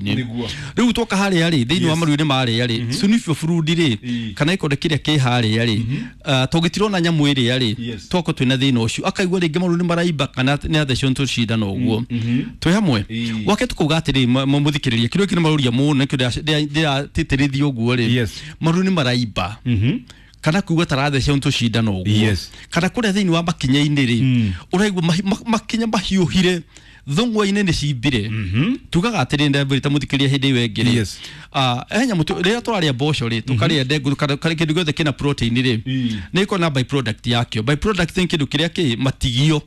maru-inĩ. Nĩguo. Rĩu twoka harĩa rĩ, thĩinĩ wa maru-inĩ marĩa rĩ, synovial fluid rĩ, kana gĩkonde kĩrĩa kĩ harĩa rĩ, tũngĩtirona nyamũ ĩrĩa rĩ, twakorwo twĩna thĩna ũcio, akaigua rĩngĩ maru nĩ maraimba kana nĩ athecwo nĩ tũcindano ũguo. Twĩ hamwe. Gwake tũkauga atĩrĩ, mũthikĩrĩria, kĩrĩa kĩrĩ maroria mũno nĩkĩo ndĩratĩtĩrithia ũguo rĩ, maru nĩ maraimba kana kuigua tarathecwo nĩ tũcindano ũguo, kana kũrĩa thĩinĩ wa makinya-inĩ rĩ, ũraigua makinya mahiũhire, thũng'wa-inĩ nĩ cimbire. Tugaga atĩrĩ, ndambĩrĩte mũthikĩrĩria hĩndĩ ĩyo ĩngĩ rĩ, he nyamũ rĩrĩa tũrarĩa mboco rĩ, tũkarĩa ndengũ kana kĩndũ gĩothe kĩna protein rĩ, nĩ ĩkoragwo na byproduct yakĩo. Byproduct nĩ kĩndũ kĩrĩa kĩ matigio.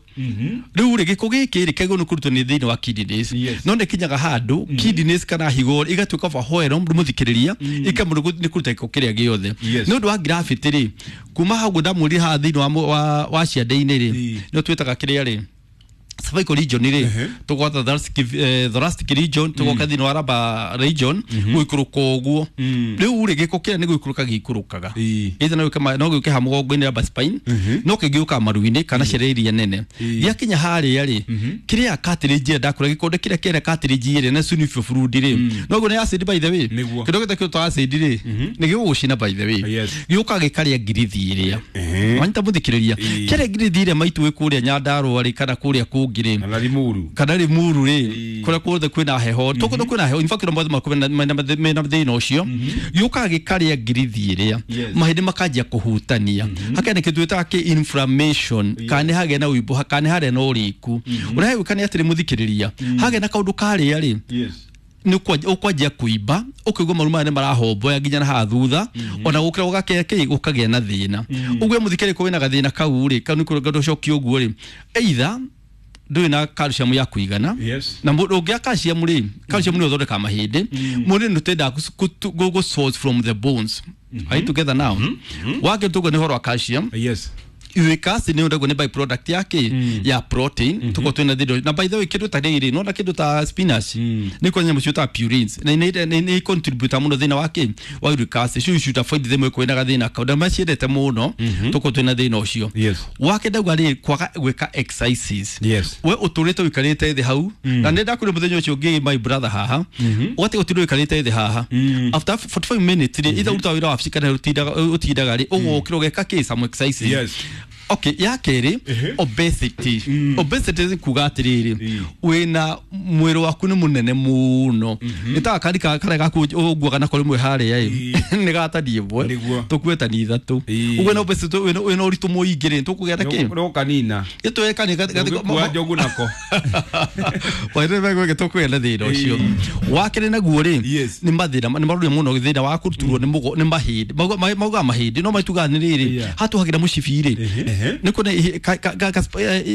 Rĩu rĩ, gĩko gĩkĩ rĩ, kĩagĩrĩirwo nĩ kũrutwo nĩ thĩinĩ wa kidneys, no nĩ kinyaga handũ kidneys kana higo igatuĩka overwhelmed, mũthikĩrĩria, ikamũrwo nĩ kũruta gĩko kĩrĩa gĩothe. Nĩ ũndũ wa gravity rĩ, kuma hau ndamwĩrire haha thĩinĩ wa ciande-inĩ rĩ, nĩo twĩtaga kĩrĩa rĩ, cervical region rĩ, tũgwata thoracic region, tũgoka thĩinĩ wa lumbar region, gũikũrũka ũguo. Rĩu rĩ, gĩko kĩrĩa nĩ gũikũrũka gĩikũrũkaga, either no gĩũke ha mũgongo-inĩ, lumbar spine, no kĩngĩũka maru-inĩ kana ciara iria nene. Gĩakinya harĩa rĩ, kĩrĩa cartilage ĩrĩa ndakũra, gĩkonde kĩrĩa kĩrĩa cartilage ĩrĩa na synovial fluid rĩ, no guo nĩ acid, by the way. Kĩndũ gĩothe kĩrutwo acid rĩ, nĩ gĩgũgũcina, by the way. Gĩũkaga gĩkarĩa ngirithi ĩrĩa wanyita, mũthikĩrĩria, kĩrĩa ngirithi ĩrĩa maitũ wĩ kũrĩa Nyandarũa rĩ, kana kũrĩa kũngĩ rĩ, Kana Limuru. Kana Limuru rĩ, kũrĩa kuothe kwĩna heho, tũkũndũ kwĩna heho, in fact mothe makorwo mena thĩna ũcio. Gĩũkaga gĩkarĩa ngirithi ĩrĩa, mahĩndĩ makanjia kũhutania, hakĩa nĩ kĩndũ twĩtaga kĩ inflammation, kana nĩ hagĩa na ũimbo, kana nĩ harĩa na ũrĩku. Ũrĩa hegwĩka nĩ atĩrĩ, mũthikĩrĩria, hagĩa na kaũndũ karĩa rĩ, nĩ ũkwanjia kũimba, ũkaigua maru maya nĩ marahomboya nginya na haha thutha, ona gũkĩra gũgakĩa kĩ gũkagĩa na thĩna ũguo. Mũthikĩrĩria, ko wĩna gathĩna kau rĩ, kau nĩ kũrũnga ũcokie ũguo rĩ, either ndũrĩ na calcium ya kũigana, na mũndũ ũngĩa calcium rĩ, calcium nĩ ũthondekaga mahĩndĩ. Mwĩrĩ nĩ ũtendaga gũ source from the bones. Are you together now? Wake tuguo nĩ ũhoro wa calcium. Uric acid nĩ ũndagwo nĩ byproduct ya kĩ ya protein. Tuko twĩna thĩna na, by the way, kĩndũ ta rĩrĩ, nona kĩndũ ta spinach, nĩ kwa nyamũ ciĩtaga purines, na nĩ contribute mũno thĩna wa kĩ wa uric acid. So you should avoid them kwĩna gathĩna kau, na maciendete mũno. Tuko twĩna thĩna ũcio. Wake ndauga rĩ, kwaga gwĩka exercises. We ũtũrĩte ũikarĩte thĩ hau, na nĩ ndakwĩra mũthenya ũcio ũngĩ, my brother, haha ũgatiga ũtinde ũikarĩte thĩ haha, after 45 minutes rĩ, either ũrutaga wĩra wabici kana ũtindaga rĩ, ũgokĩra ũgeka kĩ some exercises. Okay, ya kerĩ, obesity. Obesity nĩ kuga atĩrĩrĩ, wĩna mwĩrĩ waku nĩ mũnene mũno, nĩ ta gakari karĩa gaku ũguaga nako rĩmwe harĩa ĩ, nĩ gatani ĩmwe, tũkue tani ithatũ. Ũguo na obesity, wĩna ũritũ mũingĩ rĩ, tũkũgĩa na kĩ? Nũkanina. Gĩtweka nĩ Ũgĩkua njogu nako. Waithĩ tũkũgĩa na thĩna ũcio. Wa kerĩ naguo rĩ, nĩ mathĩna nĩ maroria mũno thĩna wa kũturwo nĩ mũgo nĩ mahĩndĩ. Maugaga mahĩndĩ, no maitugaga nĩ rĩrĩ, hatuhagĩra mũcibi rĩ, nĩ kuona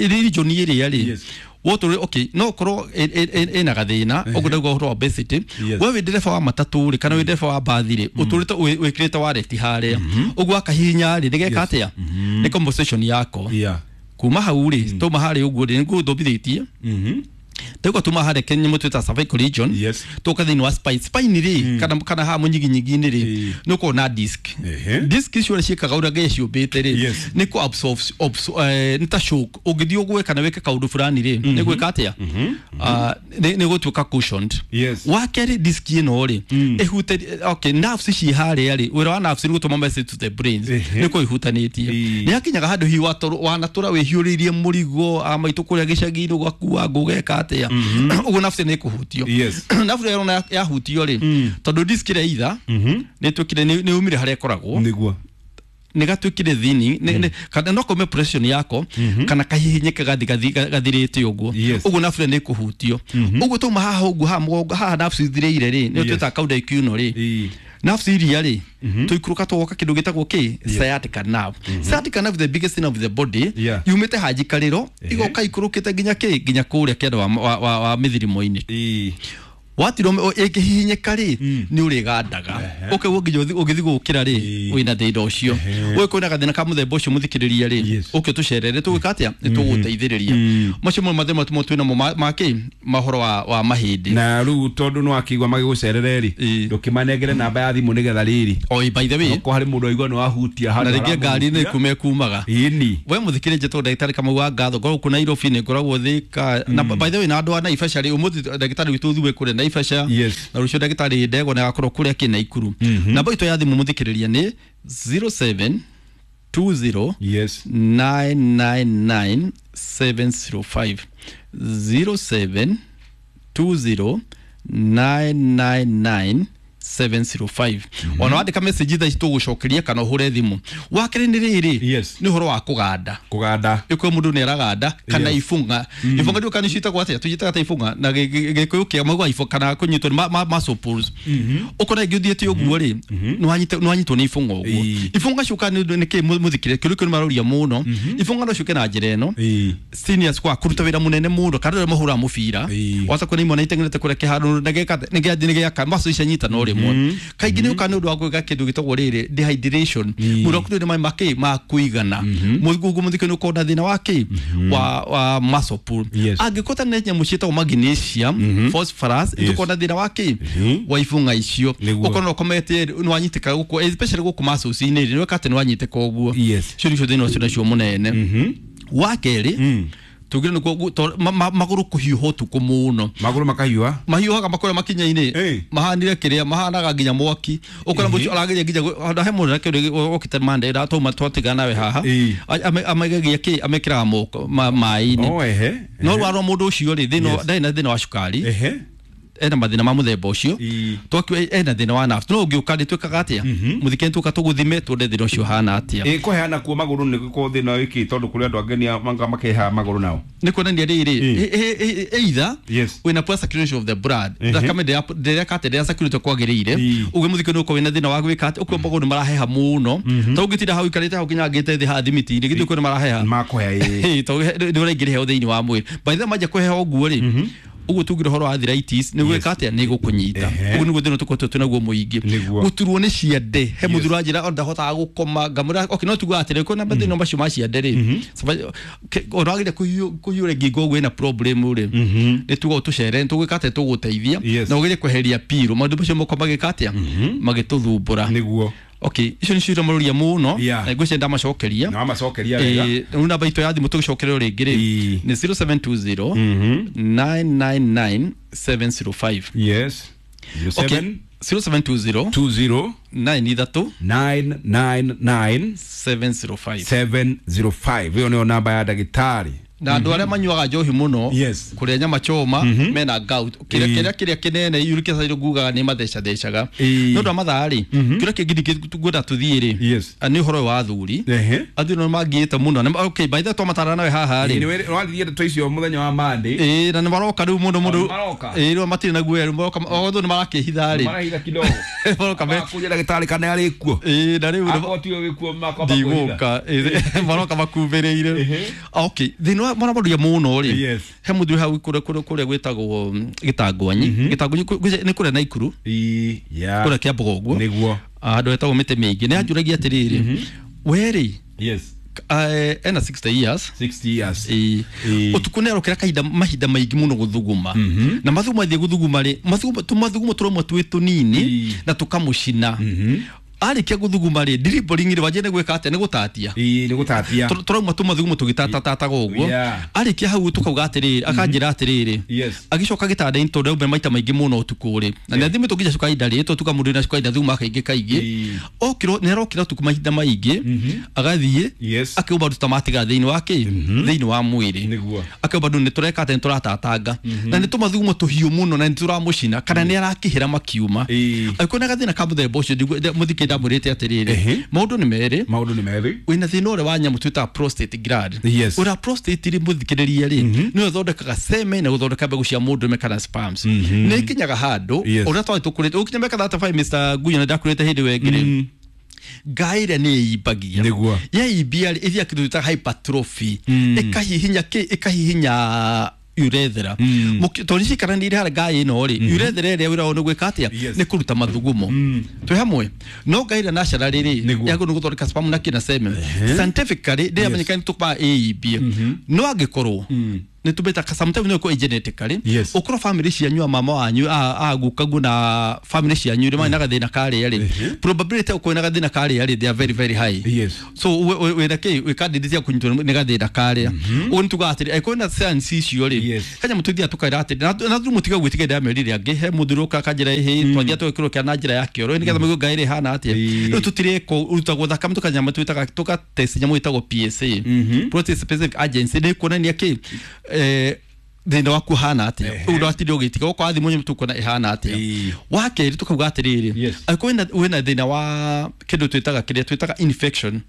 region ĩrĩa rĩ, wotũrĩ okay, no korwo ĩna gathĩna ũguo ndauga ũhoro wa obesity. We wĩ ndereba wa matatũ rĩ, kana wĩ ndereba wa mbathi rĩ, ũtũrĩte wĩkĩrĩte wareti harĩa ũguo, akahihinya rĩ, nĩgeka atĩa? Nĩ compensation yako. Kuma hau rĩ, tuma harĩa ũguo rĩ, nĩguo thomithĩtie ndauga tuma harĩa kĩnyamũ twĩta cervical region, tũka thĩinĩ wa spine. Spine rĩ, kana haha mũnyiginyigi-inĩ rĩ, nĩ ũkoragwo na disc. Disc icio ũrĩa ciĩkaga, ũrĩa Ngai ciũmbĩte rĩ, nĩ kũ absorb, nĩ ta shock. Ũngĩthiĩ ũgwe kana wĩke kaũndũ fulani rĩ, nĩ gwĩka atĩa? Nĩ gũtuĩka cushioned. Wa kerĩ, disc ĩno rĩ, ĩhute, okay, nerves ciĩ harĩa rĩ, wĩra wa nerves nĩ gũtũma message to the brains. Nĩ kũ ihutanĩtie. Nĩ hakinyaga handũ hihi wanatũra wĩhiũrĩirie mũrigo a maitũ kũrĩa gĩcagi-inĩ, ũgakua ngũ, ũgeka atĩa ũguo, nerves nĩ ĩkũhutio. Nerves ĩyo yahutio rĩ, tondũ disc ĩrĩa either nĩ ĩtuĩkire nĩ umire harĩa ĩkoragwo, nĩ gatuĩkire thini, kana no kaume pressure yako, kana kahihinyĩke gathirĩte ũguo. Ũguo nerve nĩ ĩkũhutio ũguo. Tuma haha ũguo, haha mũgongo haha, nerves ithirĩire rĩ, nĩ twĩtaga cauda equina rĩ. Nerves iria rĩ, tũikũrũka tũgoka kĩndũ gĩtagwo kĩ sciatica nerve. Sciatica nerve, the biggest nerve of the body, yumĩte hanjikarĩro, igoka ikũrũkĩte nginya kĩ nginya kũrĩa kĩanda wa mĩthirimo-inĩ. Watirwo ĩngĩhihinyĩka rĩ, nĩ ũrĩgandaga, ũkaigua nginya ũgĩthiĩ gũkĩra rĩ, wĩna thĩna ũcio. Ũyũ kwĩna gathĩna ka mũthemba ũcio, mũthikĩrĩria rĩ, ũke tũcerere, tũgwĩka atĩa? Nĩ tũgũteithĩrĩria. Macio mo mathĩna matũmwo twĩnamo ma kĩ mahoro wa mahĩndĩ. Na rĩu tondũ nĩ wakĩigua magĩgũcerere rĩ, ndũkĩmanengere namba ya thimũ nĩgetha rĩrĩ, oi, by the way, okorwo harĩ mũndũ aigua nĩ wahutia na handũ rĩngĩ ngari nĩ haramũhutia. kume kumaga. We mũthikĩrĩria, njĩtagwo ndagĩtarĩ Kamau wa Ngatho, ngoragwo kũ Nairobi, nĩ ngoragwo Thika, na by the way, na andũ a Naivasha rĩ, ũmũthĩ ndagĩtarĩ witũ thuwe kũrĩa Naivasha. Yes. Na rũciũ ndagĩtarĩ Ndegwa nĩ agakorwo kũrĩa Kĩnaikuru. Namba itũ ya thimũ mũthikĩrĩria nĩ 0720 Yes. 999 705, 0720 999 705. Ona wandĩka message thaa ici tũgũcokeria kana ũhũre thimũ. Wakerĩ nĩ rĩrĩ, Yes. nĩ ũhoro wa kũganda. Kũganda. Ĩkorwo mũndũ nĩ araganda kana Yes. ibũng'a. Ibũng'a ndiũĩ kana nĩcio itagwo atĩa, tũciĩtaga ta ibũng'a na gĩkũyũ kĩa maugaga ibũng'a kana kũnyitwo nĩ muscle pulls. Ũkona ĩngĩ ũthiĩte ũguo rĩ, nĩwanyitwo nĩ ibũng'a ũguo. Ibũng'a ciũkaga nĩ kĩ mũthikĩrĩria, kĩũria kĩu nĩ maroria mũno. Ibũng'a no ciũke na njĩra ĩno, seniors kwa kũruta wĩra mũnene mũno kana rĩrĩa mahũraga mũbira, wata kuona imwe iteng'erete kũrĩa kĩharo na gĩaka muscle cianyita no rĩmwe. Kaingĩ nĩ ũkaga nĩ ũndũ wa gwĩka kĩndũ gĩtagwo rĩrĩ dehydration, mwĩrĩ waku ndũrĩ na maĩ makĩ ma kũigana. Mũgugu mũthikĩ nĩ ũkorwo na thĩna wa kĩ wa muscle pull. Yes. Angĩkorwo nĩ nyamũ ciĩtagwo magnesium, phosphorus, tũkorwo na thĩna wa kĩ wa ibũng'a icio. Nĩguo. Ũkorwo no ũkomete nĩ wanyitĩka gũkũ, especially gũkũ muscles-inĩ rĩ, nĩ weka atĩ nĩ wanyitĩka ũguo. Yes. Cio nĩcio thĩna ũcio nacio mũnene. Wa kerĩ, tugire nĩkuo magũrũ kũhiũha ũtukũ mũno. Magũrũ makahiũha. Mahiũhaga makũrĩa makinya-inĩ, mahanire kĩrĩa mahanaga nginya mwaki. Ũkora mũcio arageria nginya he mũndũ na kĩndũ okĩte mande twauma twatigana nawe haha, amegegia kĩ amekĩraga moko maĩ-inĩ. Oh, ehe. No rwarwa mũndũ ũcio rĩ, thĩna Yes. ndarĩ na thĩna wa cukari, Ehe. ena mathĩna ma mũthemba ũcio, twakiuga ena thĩna wa nerves, no ũngĩũka rĩ, twĩkaga atĩa mũthikĩrĩria, tũka tũgũthime tuone thĩna ũcio ũhana atĩa. Ĩ kũheana kuo magũrũ nĩ gũkorwo thĩna wĩkĩ, tondũ kũrĩ andũ angĩ nĩ manga makeha magũrũ nao. Nĩ kuonania rĩrĩ, either Yes. wĩna poor circulation of the blood, thakame ndĩreka atĩ ndĩra circulate kwagĩrĩire, ũguo mũthikĩ nĩ ũkorwo wĩna thĩna wa gwĩka atĩ ũkũo magũrũ nĩ maraheha mũno, ta ũngĩtinda hau ũikarĩte hau nginya ngĩte thĩ haha thimiti-inĩ, githĩ ũkũo nĩ maraheha. Makũhea ĩ. Ĩ, tondũ nĩ ũraingĩra heho thĩinĩ wa mwĩrĩ. By the way, manjia kũheha ũguo rĩ, ũguo tugire ũhoro wa arthritis nĩ gwĩka atĩa, nĩ gũkũnyita. Ũguo nĩguo thĩna tũkoretwo twĩnaguo mũingĩ. Nĩguo. Gũturwo nĩ ciande, he mũthuri wanjĩra ona ndahotaga gũkoma, ngamwĩra okay, no tugaga atĩrĩ kwĩna mathĩna macio ma ciande rĩ, ona wagĩrĩire kũhiũra ngingo ũguo ĩna problem rĩ, nĩ tuga ũtũcere, nĩ tũgwĩka atĩa, tũgũteithia Yes. na ũgerie kweheria piru maũndũ macio moko magĩka atĩa magĩtũthumbũra. Nĩguo. Okay, icio nĩcio iria maroria mũno, Yeah. na ngwĩciria ndamacokeria. Na wamacokeria wega. Rĩu namba itũ ya thimũ tũgĩcokererwo rĩngĩ rĩ, nĩ 0720 999 705. Yes. Okay, 07 0720 20 93 999 705. 705. Ĩyo nĩyo namba ya ndagĩtarĩ. Na andũ arĩa manyuaga njohi mũno, Yes. kũrĩa nyama choma, mena gout, kĩrĩa kĩrĩa kĩrĩa kĩnene uric acid ngugaga nĩ mathecathecaga. Nĩ ũndũ wa mathaa rĩ, kĩrĩa kĩngĩ ngwenda tũthiĩ rĩ, Yes. nĩ ũhoro ũyũ wa athuri. Athuri nĩ mangĩĩte mũno. Okay, by the way twamatara nawe haha rĩ, Nĩ waririe ndeto icio mũthenya wa Monday. Ĩĩ, na nĩ maroka rĩu mũno mũno. Nĩ maroka? Ĩĩ, rĩu matirĩ na guoya, rĩu maroka otho nĩ marakĩhitha rĩ. Marahitha kidogo. Maroka me Makũria ndagĩtarĩ kana arĩ kuo. Ĩĩ, na rĩu Akorwo tiwe wĩ kuo makwamba kwĩhitha. ndigũka. Ĩĩ, maroka makumbĩrĩire. Okay, thĩna wa marabaruria mũno rĩ, Yes. he mũthuri hau kũrĩa kũrĩa kũrĩa gwĩtagwo gĩtangwanyi. Gĩtangwanyi nĩ kũrĩa Naikuru, Ĩĩ, yeah. kũrĩa Kĩambogo ũguo. Nĩguo. Handũ hetagwo mĩtĩ mĩingĩ, nĩ anjũragia atĩrĩrĩ, we rĩ, Yes. ena 60 years. 60 years. Ĩĩ. Ĩĩ. Ũtukũ nĩ arokera kahinda mahinda maingĩ mũno gũthuguma, na mathugumo athiĩ gũthuguma rĩ, mathugumo tũmathugumo tũrauma twĩ tũnini na tũkamũcina. Arĩkia gũthuguma rĩ, dribbling rĩ, wanjia nĩ gwĩka atĩa, nĩ gũtatia. Ĩĩ, nĩ gũtatia. Tũrauma tũmathugumo tũgĩtatatataga ũguo. Yeah. Arĩkia hau tũkauga atĩrĩrĩ, akanjĩra atĩrĩrĩ, Yes. agĩcoka gĩtanda-inĩ tondũ aumire maita maingĩ mũno ũtukũ rĩ, na nĩ athimĩtwo nginya cukari ndarĩ tondũ tuga mũndũ wĩna cukari ndathuguma kaingĩ kaingĩ. Okĩrwo nĩ arokĩra ũtukũ mahinda maingĩ, agathiĩ Yes. akĩũmba ndũ ta matigara thĩinĩ wa kĩ thĩinĩ wa mwĩrĩ. Nĩguo. Akĩũmba ndũ nĩ tũreka atĩ nĩ tũratatanga na nĩ tũmathugumo tũhiũ mũno na nĩ tũramũcina kana nĩ arakĩhĩra makiuma. Angĩkorwo na gathĩna ka mũthemba ũcio, mũthikĩ ndamwĩrĩte atĩrĩrĩ, maũndũ nĩ merĩ. Maũndũ nĩ merĩ. Wĩna thĩna ũrĩa wa nyamũ twĩtaga prostate gland. Yes. Ũrĩa prostate rĩ, mũthikĩrĩria rĩ, nĩyo ĩthondekaga semen na gũthondeka mbegũ cia mũndũrũme kana sperms. Nĩ ĩkinyaga handũ Yes. ũrĩa twarĩ tũkũrĩte ũkinya mĩaka 35, Mr. Gunya, nĩ ndakũrĩte hĩndĩ ĩyo ĩngĩ rĩ, ngai ĩrĩa nĩ ĩimbagia. Nĩguo. Yaimbia rĩ, ĩthiaga kĩndũ twĩtaga hypertrophy, ĩkahihinya kĩ ĩkahihinya urethra. Tondũ cikaranĩire harĩa ngai ĩno rĩ, urethra ĩrĩa wĩra wao nĩ gwĩka atĩa, Yes. nĩ kũruta mathugumo twĩ hamwe, no ngai ĩrĩa naturally rĩ, Nĩguo. yagĩrĩirwo nĩ gũthondeka sperm na kĩna semen. Scientifically ndĩramenyeka nĩ tũkũmaga ĩimbie, no angĩkorwo Nĩ tũmĩtaga sometimes no ĩkorwo genetically. Yes. Ũkorwo family cianyu a mama wanyu a gukaguo na family cianyu rĩ marĩ na gathĩna karĩa rĩ, probability ya gũkorwo na gathĩna karĩa rĩ, they are very very high. Yes. So wĩna kĩ wĩ candidate ya kũnyitwo nĩ gathĩna karĩa. Ũguo nĩ tugaga atĩrĩ angĩkorwo na science icio rĩ, Yes. kanyamũ tũthiaga tũkaira atĩrĩ na thuru mũtiga gwĩtiga ndamerire angĩ he mũthuri ũka akanjĩra ĩhĩ twathiaga tũgekĩrwo kĩa na njĩra ya kĩoro nĩgetha maigue ngai ĩrĩ ĩhana atĩa. Rĩu tũtirĩko rutagwo thakame tũkanyamũ twĩtaga tũgatest nyamũ ĩtagwo PSA, prostate specific agency, nĩ kuonania kĩ thĩna waku ũhana atĩa. Rĩu ndwatinde ũgĩtiga ũkorwo thimũ nyamũ tũkuona ĩhana atĩa. Wa kerĩ tũkauga atĩrĩrĩ, Yes. angĩkorwo wĩna thĩna wa kĩndũ twĩtaga kĩrĩa twĩtaga infection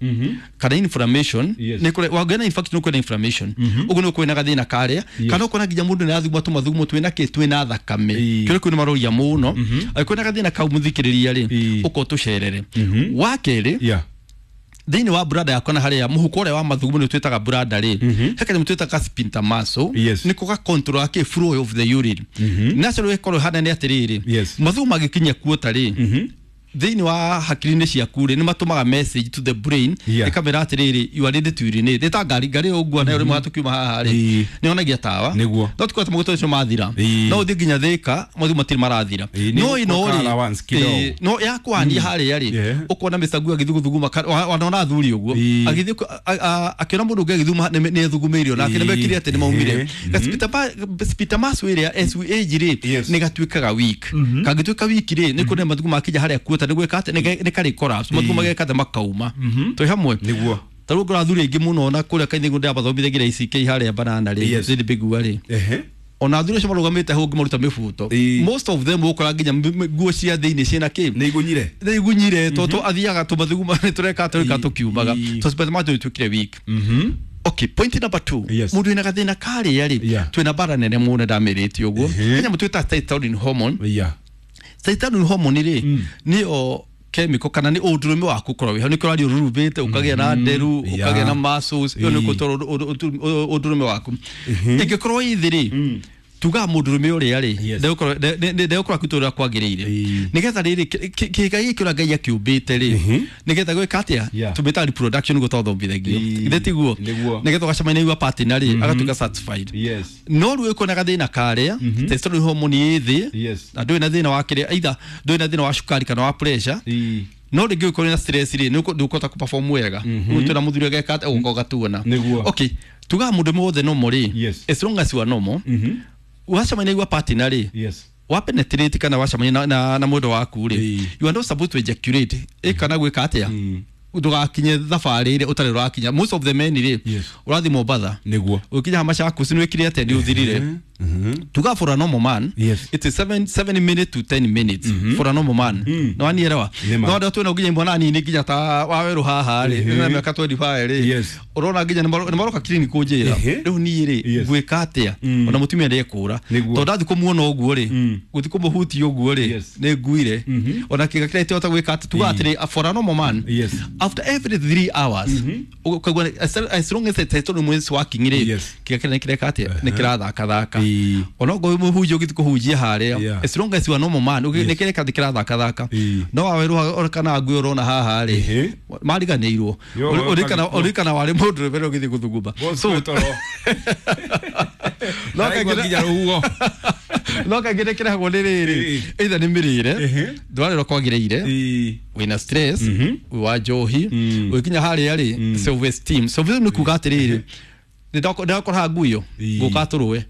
kana inflammation. Yes. Nĩ kũrĩ wangĩona infection ũkwĩna inflammation, ũguo nĩ ũkwĩna gathĩna karĩa, kana ũkona nginya mũndũ nĩ arathuguma tũmathugumo twĩna kĩ twĩna thakame. Kĩrĩa kĩu nĩ maroria mũno. Angĩkorwo na gathĩna kau mũthikĩrĩria rĩ, ũkorwo tũcerere. Wa kerĩ, thĩinĩ wa brada yakwa na harĩa mũhuko ũrĩa wa mathugumo nĩ twĩtaga brada rĩ, he kanyamũ twĩtaga sphincter muscle. Yes. Nĩko ga control kĩ flow of the urine. Natural ĩkorwo ĩhana nĩ atĩrĩrĩ, Yes. mathugumo mangĩkinya kuota rĩ, thĩinĩ wa hakiri-inĩ ciaku rĩ, nĩ matũmaga message to the brain, ĩkamĩra atĩrĩrĩ, you are ready to urinate. Nĩ ta ngari, ngari ĩyo ũguo nayo rĩmwe tũkiuma haha rĩ, nĩ yonagia tawa. Nĩguo. No tukorwo maguta macio mathira, no ũthiĩ nginya Thĩka mathugumo matirĩ marathira. Nĩ No ĩno gũka rĩ, allowance kidogo. No yakwania harĩa rĩ, ũkona Mr. Ngui agĩthuguthuguma wanona athuri ũguo agĩthiĩ akĩona mũndũ ũngĩ agĩthuguma nĩ ethugumĩirio nake nĩ mekire atĩ nĩ maumire. Sphincter muscle ĩrĩa as we age rĩ, nĩ gatuĩkaga weak. Kangĩtuĩka weak rĩ, nĩ kuona mathugumo makinya harĩa kuota nĩ gwĩka atĩ nĩ karĩ collapse, mathugumo mageka atĩ makauma. Twĩ hamwe? Nĩguo. Ta rĩu ngora athuri aingĩ mũno na kũrĩa kaingĩ ndĩrabathomithia ICK harĩa banana rĩ, thĩinĩ mbĩgua rĩ, ona athuri acio marũgamĩte hau ũngĩmaruta mĩbuto, most of them ũkora nginya nguo cia thĩinĩ ciĩna kĩ. Nĩ igunyire. Nĩ igunyire tondũ athiaga tũmathuguma nĩ tũreka tũreka tũkiumaga. So sphincter muscle ĩtuĩkire weak. Okay, point number 2, mũndũ wĩna gathĩna karĩa rĩ, twĩna bara nene mũno ndamĩrĩtie ũguo, kanyamũ twĩtaga testosterone hormone. Testosterone hormone rĩ, nĩyo chemical kana nĩ ũndũrũme waku ũkorwo wĩho, nĩkĩo ũraria ũrurubĩte, ũkagĩa na nderu, ũkagĩa na muscles. Ĩyo nĩ gũtwara ũndũrũme waku. Ĩngĩkorwo ĩ thĩ rĩ, tugaga mũndũrũme ũrĩa rĩ, ndegũkorwo akĩruta ũrĩa kwagĩrĩire, nĩgetha rĩrĩ kĩga gĩkĩ ũrĩa Ngai akĩũmbĩte rĩ, nĩgetha gwĩka atĩa, tũmĩtaga reproduction nĩguo twathomithagio. Githĩ tiguo? Nĩguo. Nĩgetha ũgacemania na partner rĩ, agatuĩka satisfied. Yes. No rĩu ĩkuona gathĩna karĩa testosterone hormone ĩ thĩ, na ndũrĩ na thĩna wa kĩrĩa, either ndũrĩ na thĩna wa cukari kana wa pressure, no rĩngĩ ũkorwo na stress rĩ, nĩ ndũkũhota kũperform wega. Rĩu twĩna mũthuri ageka atĩa, ũgoka ũgatuona. Nĩguo. Okay, tugaga mũndũ wothe normal rĩ, as long as you are normal, wacemania na partner rĩ, wa penetrate kana wacemania na mwendwa waku rĩ, you are not supposed to ejaculate ĩ kana gwĩka atĩa, ndũgakinye thabarĩ ĩrĩa ũtarĩ ũrakinya. Most of the men rĩ, ũrathiĩ Mombatha, Nĩguo. ũkinya Machakos nĩ wĩkire atĩa, nĩ ũthirire. Tuga for a normal man, it is 7 minutes to 10 minutes for a normal man. No wanielewa? Nĩma. No andũ twĩna nginya imwana nini nginya ta wawerũ haha rĩ, na mĩaka 25 rĩ, ũrona nginya nĩ maroka clinic kũnjĩra, rĩu niĩ rĩ, ngwĩka atĩa? Ona mũtumia ndekũra, tondũ ndathiĩ kũmuona ũguo rĩ, gũthiĩ kũmũhutia ũguo rĩ, nĩ nguire ona kĩga kĩrĩa itihota gwĩka atĩ. Tuga atĩrĩ, for a normal man, after every 3 hours, ũkaigua as long as the testosterone is working rĩ, kĩga kĩrĩa nĩ kĩreka atĩa, nĩ kĩrathakathaka. Ona okorwo mũhunjia ũgĩthiĩ kũhunjia harĩa, as long as you are normal man, nĩ kĩreka nĩ kĩrathakathaka. No wawerũ kana ngui ũrona haha rĩ, mariganĩirwo. Yo, Ũririkana warĩ mũndũ mbere ũgĩthiĩ gũthuguma. So Boss toro. no Araigua kaingĩ nginya rũhuho. No kaingĩ nĩ kĩrehagwo nĩ rĩrĩ, either nĩ mĩrĩre, ndwarĩrwo kwagĩrĩire, wĩna stress, wĩ wa njohi, ũgĩkinya harĩa rĩ, self esteem. Self esteem nĩ kuga atĩrĩrĩ, nĩ ndakora haha nguyo ngũka tũrũe,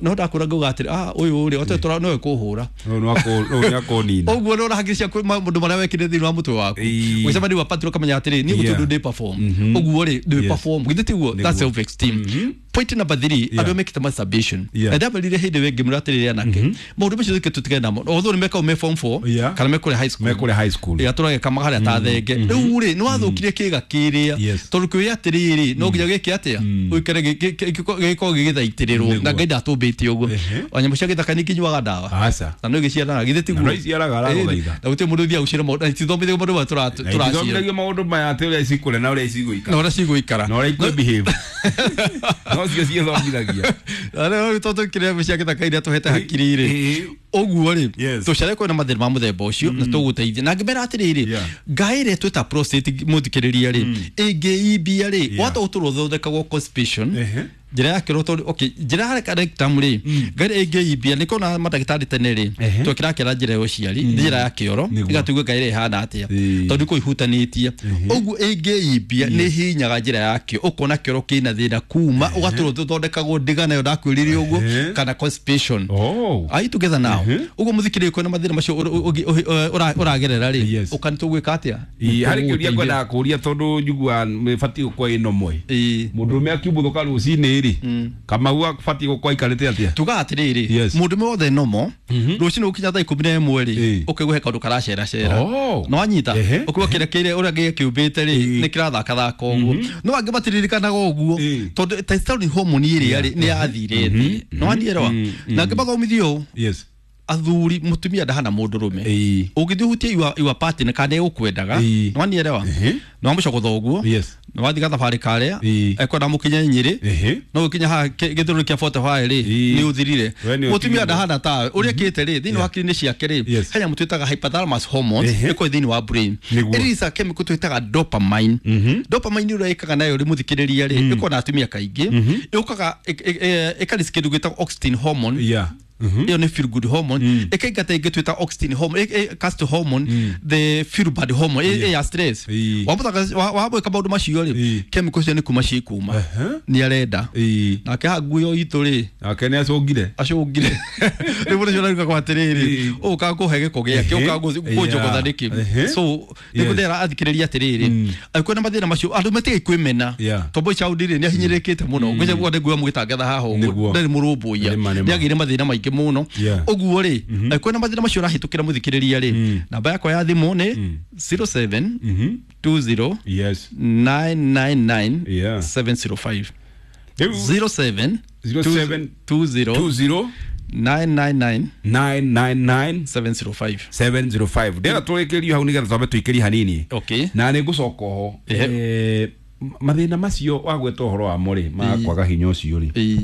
no ndakũra ngauga atĩrĩ, ah, ũyũ rĩ ote nowe kũhũra. Ũyũ nĩ akũnina. Ũguo nĩ ũrahakiri ciaku maũndũ marĩa wekire thĩinĩ wa mũtwe waku, ũgĩcemania wa partner ũkamenya atĩrĩ, niĩ gũtirĩ ũndũ ndĩ perform ũguo rĩ, ndĩ perform. Githĩ tiguo? That's self esteem. Point number 3, andũ mekĩte masturbation. Na ndamerire hĩndĩ ĩyo ngĩmwĩra atĩrĩrĩ, anake, maũndũ macio tũke tũtigane namo, although nĩ mekagwo me form 4 kana me kũrĩa high school. Me kũrĩa high school. Ĩrĩa tũrageka harĩa ta thenge. Rĩu rĩ, nĩ wathũkirie kĩga kĩrĩa, tondũ kĩũria atĩrĩrĩ, no nginya gĩke atĩa, ũikare gĩkorwo gĩgĩthaitĩrĩrwo. Na Ngai ndatũmbĩte ũguo. O nyamũ cia gĩthaka nĩ ikĩnyuaga ndawa Aca. na no igĩciaranaga. Githĩ tiguo? Na no iciaraga, aragũthaitha. Na gũtirĩ mũndũ ũthiaga gũciara maũndũ, na itithomithagio maũndũ maya Na tũraciara. ithomithagio maũndũ maya atĩ ũrĩa cikũrĩa na ũrĩa cigũikara. Na ũrĩa cigũikara. Na ũrĩa ikũ behave. No cio ciĩthomithagia. Na rĩu tondũ kĩrĩa cia gĩthaka iria tũhete hakiri rĩ, Ũguo rĩ tũcare kwĩna mathĩna ma mũthemba ũcio na tũgũteithia na ngĩmera atĩrĩrĩ ngai ĩrĩa twĩta prostate mũthikĩrĩria rĩ ĩngĩimbia rĩ wata ũtũrwo ũthondekagwo constipation njĩra ya kĩoro tondũ okay njĩra ya rectum rĩ ngai ĩngĩimbia nĩ kona mandagĩtarĩ tene rĩ twekĩra kĩra njĩra ya ũciari njĩra ya kĩoro ĩgatuĩka ngai ĩrĩa ĩhana atĩa tondũ kũ ihutanĩtie ũguo ĩngĩimbia nĩ hinyaga njĩra ya kĩo ũkona kĩoro kĩna thĩna kuma ũgatũrwo ũthondekagwo ndiga nayo ndakwĩrire ũguo kana constipation. Are you together now? Ũguo mũthikĩrĩria kwĩna mathĩna macio ũragerera rĩ ũkani tũgwĩka atĩa? Harĩ kĩũria ngwendaga kũũria tondũ njiguaga batiĩ gũkorwo ĩno mwe mũndũrũme akiumbuthũka rũcinĩ rĩ Kamau abatiĩ gũkorwo aikarĩte atĩa? Tugaga atĩrĩrĩ mũndũrũme wothe nomo rũcinĩ gũkinya thaa 11 rĩ ũkaigua he kaũndũ karaceracera no wanyita ũkaigua kĩrĩa kĩrĩa ũrĩa gĩkĩũmbĩte rĩ nĩ kĩrathakathaka ũguo no angĩ matiririkanaga ũguo tondũ testosterone hormone ĩrĩa rĩ nĩ yathire thĩ no wanielewa na angĩ mathomithio ũũ athuri mutumia ndahana mũndũrũme ũngĩthiĩ ũhutie iwa partner kana ĩgũkwendaga nĩ wanielewa nĩ wamũcogotha ũguo nĩ wathiĩ gathabarĩ karĩa ekwenda mũkinye Nyĩrĩ no ũkinye haha gĩthũrũrĩ kĩa 45 rĩ nĩ ũthirire mũtumia ndahana tawe ũrĩa kĩte rĩ thĩinĩ wa hakiri-inĩ ciake rĩ he nyamũ twĩtaga hypothalamus hormones ĩkoragwo thĩinĩ wa brain ĩrelease chemical twĩtaga dopamine. Dopamine ũrĩa ĩkaga nayo rĩ mũthikĩrĩria rĩ ĩkoragwo na atumia kaingĩ ĩũkaga ĩkarelease kĩndũ gĩtagwo oxytocin hormone iyo ni feel good hormone ĩkaingata ĩngĩ twĩta oxytocin hormone castor hormone the feel bad hormone ya stress wamwĩka maũndũ macio rĩ chemical cio nĩ kuma cikuma nĩ arenda nake haha nguo itũ rĩ nake nĩ acũngire rĩu mũndũ ũcio araruga kwa atĩrĩrĩ ũkaga kũhe gĩko gĩake ũkaga kũnjogotha nĩkĩ so nĩguo ndĩra athikĩrĩria atĩrĩrĩ angĩkorwo na mathĩna macio andũ matigai kwĩmena tondũ boy child rĩ nĩ ahinyĩrĩrĩkĩte mũno ngwĩciria guothe nguo mũgĩtangatha haha ũguo ndarĩ mũrũmbũiya nĩ agĩire mathĩna maingĩ mũno ũguo rĩ angĩkorwo na mathĩna macio ũrahĩtũkĩra mũthikĩrĩria rĩ namba yakwa ya thimũ nĩ 07 20 999 705 07 20 999 999 705 705 ndĩra tũrĩkĩrio hau nĩgetha twambe tũikĩrie hanini na nĩ ngũcoka oho mathĩna macio wagweta ũhoro wamo rĩ ma kwaga hinya ũcio rĩ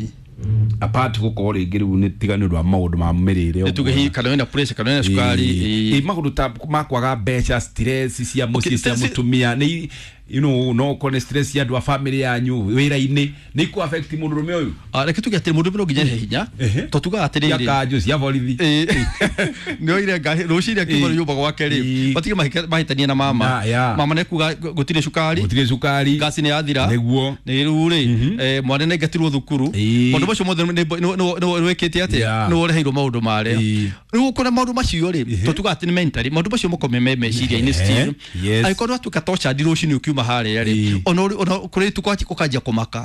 apart gũkorwo rĩngĩ rĩu nĩ tiga nĩ ũndũ wa maũndũ ma mĩrĩre tuge hihi kana wĩna pressure kana wĩna cukari maũndũ ta ma kwaga mbeca stress cia mũciĩ cia mũtumia nĩ you know no ũkorwo nĩ stress cia andũ a family yanyu wĩra-inĩ nĩ ikũ affect mũndũrũme ũyũ reke tuge atĩrĩ mũndũrũme no nginya ehe hinya to tugaga atĩrĩrĩ cia kanjũ cia borithi nĩ oire ngari rũcinĩ akiuma nyũmba gwake rĩ matige mahĩtanie na mama mama nĩ kuga gũtirĩ cukari ngasi nĩ yathira nĩguo nĩ rĩu rĩ mwana nĩ aingatirwo thukuru maũndũ macio mothe nĩ wĩkĩte atĩa nĩ woreheirwo maũndũ marĩa rĩu ũkona maũndũ macio rĩ to tugaga atĩ nĩ mentally maũndũ macio makome me meciria-inĩ still angĩkorwo watuĩka tortured rũcinĩ ũkiuma harĩa rĩ ona kũrĩ tukwachi kũkanjia kũmaka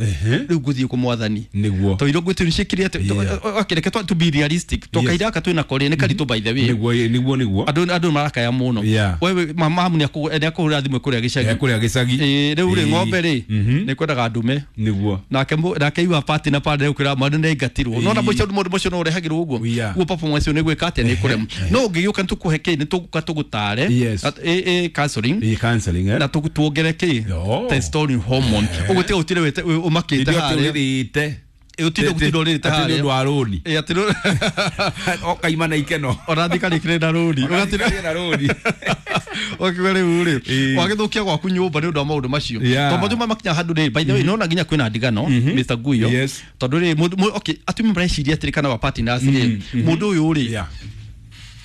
rĩu ngũthiĩ kũ mwathani nĩguo to irio ngwĩtĩ nĩciĩkire atĩ okay reke to be realistic to kahinda gaka twĩna ko rĩ nĩ karitũ by the way nĩguo andũ marakaya mũno wewe mamu nĩ akũhũrĩra thimũ kũrĩa gĩcagi rĩu rĩ ng'ombe rĩ nĩ kwendaga ndume nĩguo nake iwa party na pande ũkĩra mwana nĩ aingatirwo no na mũico maũndũ macio no ũrehagĩrwo ũguo guo performance ũyũ nĩ gwĩka atĩa nĩ kũrema no ũngĩgĩũka nĩ tũkũhe kĩ nĩ tũgũka tũgũtare counseling na tuongere kĩ testosterone hormone ũguo tiga ũtire ũmakĩte harĩa ũtinde gũtinda ũrĩrĩte harĩa atĩ nĩ ũndũ wa rũni atĩ ũkaima na ikeno ona thikarĩkĩre na rũni ũgatinda na rũni ũkiuga rĩu rĩ wagĩthũkia gwaku nyũmba nĩ ũndũ wa maũndũ macio tondũ maũndũ makinya handũ rĩ by the way nĩwona nginya kwĩna ndigano Mr Guyo tondũ rĩ okay atumia mareciria atĩrĩ kana wa partners rĩ mũndũ ũyũ rĩ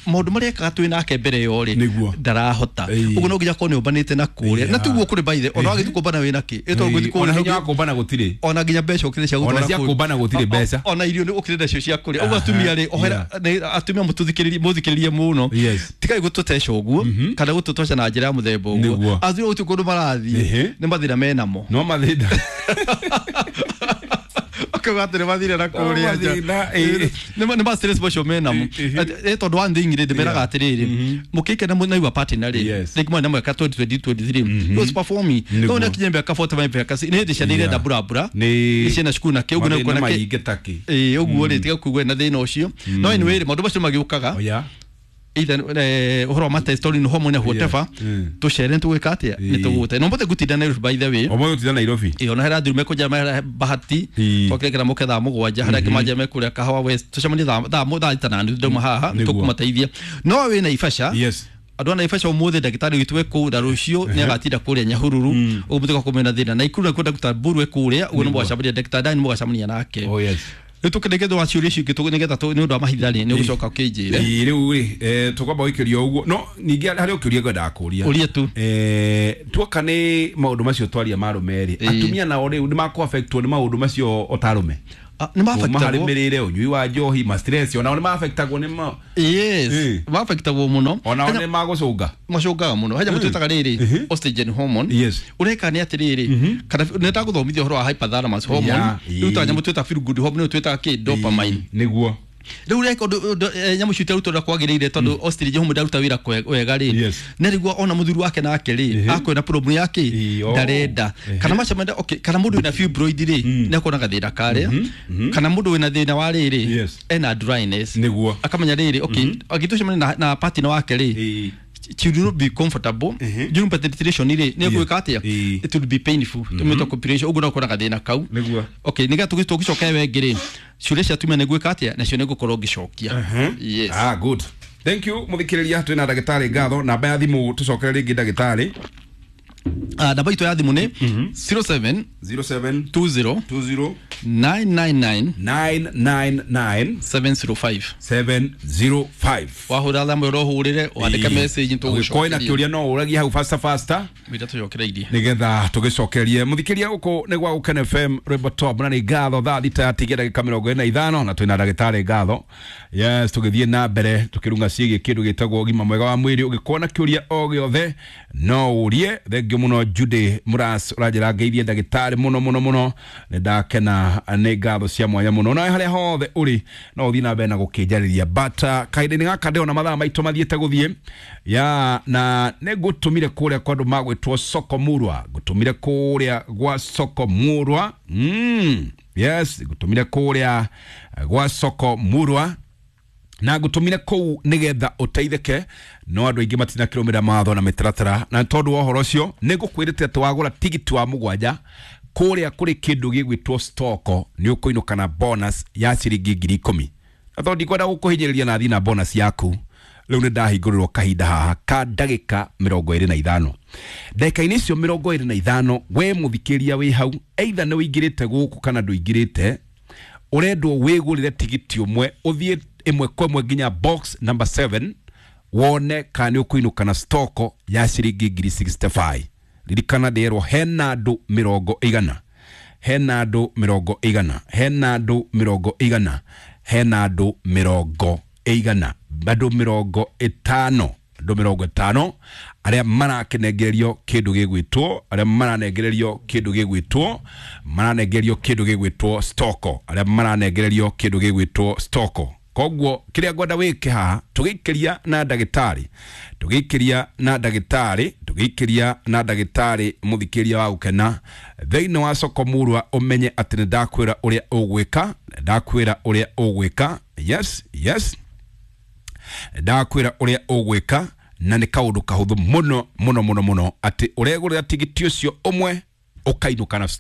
maũndũ marĩa ekaga twĩ nake mbere yo rĩ ndarahota ũguo no nginya akorwo nĩ ũmbanĩte na kũrĩa na tiguo kũrĩ by the ona wagĩthiĩ kũmbana wĩna kĩ ĩtondũ gũthiĩ kũrĩa hinya wa kũmbana gũtirĩ ona nginya mbeca ũkĩrĩ cia gũtwara ona cia kũmbana gũtirĩ mbeca ona irio nĩ ũkĩrĩ nacio cia kũrĩa ũguo atumia rĩ ohera atumia mũthikĩrĩrie mũno tigai gũtũteca ũguo kana gũtũtoca na njĩra ya mũthemba ũguo athuri gũtirĩ kũndũ marathiĩ nĩ mathĩna menamo no mathĩna akauga atĩ nĩ mathire na kũrĩa nja nĩ ma stress macio menamo tondũ one thing rĩ ndĩmeraga atĩrĩrĩ mũkĩikana na your partner rĩ rĩngĩ mwana mwaka 2023 he was performing no nĩ akinyia mĩaka 45 mĩaka nĩ hĩndĩ ciana irenda burabura nĩ ciana cukuru na kĩ ũguo nĩ kuona kĩ ũguo rĩ tiga kuigua na thĩna ũcio no anyway rĩ maũndũ macio magĩũkaga Either ũhoro wa matestosterone hormone whatever, tũcere nĩ tũgwĩka atĩa, nĩ tũgũte no mothe ngũtinda Nairobi, by the way. Ũmũthĩ ũtinda Nairobi? Ĩyo na hera thuri mekũnja mehera bahati twakĩrekera mũke thaa 7, harĩa angĩ manjia mekũrĩa Kahawa West, tũcemanie thaa 6:30, ndauma haha tũkũmateithia. No wĩ Naivasha, andũ a Naivasha, ũmũthĩ ndagĩtarĩ witũ e kũu, na rũciũ nĩ agatinda kũrĩa Nyahururu, ũguo mũtiga kũmena thĩna. Na Ikuru nakuo Dr. Mburu e kũrĩa, ũguo nĩ mũgacemania ndagĩtarĩ Dani, mũgacemania nake. Oh yes. Rĩu tũkĩrĩkia wa ciũria icio ingĩ, nĩgetha nĩ ũndũ wa mahinda rĩ, nĩ ũgũcoka ũkĩnjĩre. Ĩĩ, rĩu rĩ, tũkwamba gũikĩrio ũguo, no ningĩ harĩ ũkĩũria ngwendaga kũria. Ũria tu. Tuoka nĩ maũndũ macio twaria ma arũme rĩ, atumia nao rĩu nĩ makũ-affectwo nĩ maũndũ macio o ta arũme? Nĩ kuma harĩ ma-affectagwo. Mĩrĩre, ũnyui wa njohi, ma stress, onao nĩ ma-affectagwo nĩ ma Yes, ma-affectagwo mũno. Onao nĩ magũcũnga? Macũngaga mũno. He nyamũ twĩtaga rĩrĩ estrogen hormone. Ũreka nĩ atĩrĩrĩ, kana nĩ ndagũthomithia ũhoro wa hypothalamus hormone, rĩu ta nyamũ twĩtaga feel good hormone, nĩyo twĩtaga kĩ dopamine. Nĩguo. Rĩu reka ũndũ nyamũ icio itarutwo ũrĩa kwagĩrĩire, tondũ estrogen hormone ndaruta wĩra wega rĩ, na rĩguo ona mũthuri wake nake rĩ, akwĩna problem yake, ndarenda kana macemania. Okay, kana mũndũ wĩna fibroid rĩ, nĩ akona gathĩna karĩa, kana mũndũ wĩna thĩna wa rĩrĩ, ena dryness, akamenya rĩrĩ, okay, agĩtũcemania na partner wake rĩ, she will not be comfortable during penetration rĩ, nĩ egwĩka atĩa? It will be painful, tũmĩtwa copulation, ũguo no ũkona gathĩna kau. Okay, nĩgetha tũgĩcoka we ngĩ rĩ, ciũria cia atumia nĩ gwĩka atĩa, nacio nĩ ngũkorwo ngĩcokia. Yes. Ah, good, thank you. Mũthikĩrĩria, twĩna ndagĩtarĩ Ngatho. Namba ya thimũ tũcokere rĩngĩ, ndagĩtarĩ. Ah, namba itũ ya thimũ nĩ 07 07 20 20 999 999 705. 705. Wahũra thamwe ũrohũrĩre, wandĩke message. Ũgĩkorwo na kĩũria no ũragie hau faster faster. Wĩra tũcokereirie. Nigetha tũgĩcokerie mũthikĩria. Gũkũ nĩ gwa Gũkena FM, rwĩmbo top, na nĩ Ngatho. Thaa 6 yatigia ndagĩka 45, na twĩna ndagĩtarĩ Ngatho. Yes, tũgĩthiĩ na mbere tũkĩrunga ciĩgiĩ kĩndũ gĩtagwo ũgima mwega wa mwĩrĩ. Ũgĩkorwo na kĩũria o gĩothe no ũrie. Thengiũ mũno Judy Mũras, ũranjĩra ngeithie ndagĩtarĩ mũno mũno mũno, nĩ ndakena, nĩ ngatho cia mwanya mũno. Nawe harĩa hothe ũrĩ no ũthiĩ na mbere na gũkĩnjarĩria, but kahinda-inĩ gaka ndĩrona mathaa maitũ mathiĩte gũthiĩ ya, na nĩ ngũtũmire kũrĩa kwa andũ magwĩtwo Soko Murwa, ngũtũmire kũrĩa gwa Soko Murwa. Yes, ngũtũmire kũrĩa gwa Soko Murwa na ngũtũmire kũu nĩgetha ũteithĩke, no andũ aingĩ matinakĩrũmĩrĩra mawatho na mĩtaratara, na tondũ wa ũhoro ũcio nĩ ngũkwĩrĩte atĩ wagũra tigiti wa 7 kũrĩa kũrĩ kĩndũ gĩgwĩtwo stoko, nĩ ũkũinũka na bonus ya ciringi 10,000. Na tondũ ndikwenda gũkũhinyĩrĩria na thiĩ na bonus yaku, rĩu nĩ ndahingũrĩrwo kahinda haha ka ndagĩka 25. Ndagĩka-inĩ icio 25, we mũthikĩria wĩ hau, either nĩ ũingĩrĩte gũkũ kana ndũingĩrĩte, ũrendwo wĩgũrĩre tigiti ũmwe, ũthiĩ ĩmwe kwa ĩmwe nginya box number 7, wone kana nĩ ũkũinũka na stoko ya ciringi 65,000. Ririkana ndĩrwo hena andũ 100, hena andũ 100, hena andũ 100, hena andũ 100, andũ 50, andũ 50 arĩa marakĩnengererio kĩndũ gĩgwĩtwo, arĩa maranengererio kĩndũ gĩgwĩtwo, maranengererio kĩndũ gĩgwĩtwo stoko, arĩa maranengererio kĩndũ gĩgwĩtwo stoko. Koguo kĩrĩa ngwenda wĩke haha, tũgĩikĩria na ndagĩtarĩ, tũgĩikĩria na ndagĩtarĩ, tũgĩikĩria na ndagĩtarĩ, mũthikĩria wa Gũkena thĩinĩ wa Soko Murwa, ũmenye atĩ nĩ ndakwĩra ũrĩa ũgwĩka, ndakwĩra ũrĩa ũgwĩka. Yes, ndakwĩra ũrĩa ũgwĩka, na nĩ kaũndũ kahũthũ mũno mũno mũno mũno, atĩ ũregũrĩra tigiti ũcio ũmwe ũkainũka na